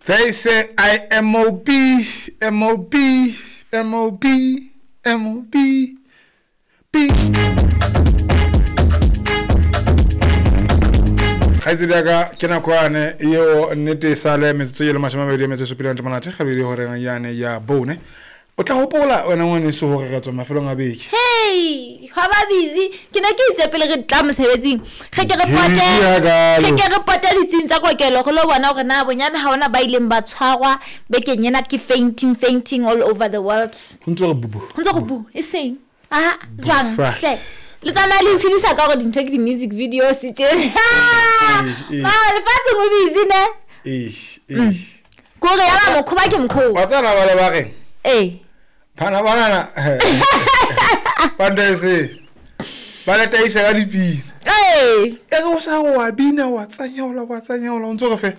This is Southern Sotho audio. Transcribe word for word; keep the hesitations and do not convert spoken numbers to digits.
They say I M O B M O B M O B M O B B. Kgaitsedi ya ka ke nako yane eo nnete e sale metsotso e le mashome a mabedi a metso e supileng monate gabedi horeng yane ya bone. O tla hopola wena ngwaneso hore re tswa mafelong a beke. Hey, hwa ba busy. Ke ne ke itse pele re tla mosebetsing. Re ke re pote, re ke re pote ditsing tsa kokelo go lo bona hore na bonyane ha ona ba ileng ba tshwarwa bekeng ena ke fainting fainting all over the world. Ho ntse re bubu. Ho ntse re bu, e seng. Aha, jwang hle. Le tsamaya le itshedisa ka hore dintho ke di-music videos tje. Mara lefatsheng o busy ne? Eh, eh. Kore ya ba mokhoba ke mokhoba. Wa tsena ba le ba reng? Eh. Bana banana. Bandese. Ba le taisa ka dipina. Eh. E re o sa wa bina wa tsanyaola wa tsanyaola o ntse re fe.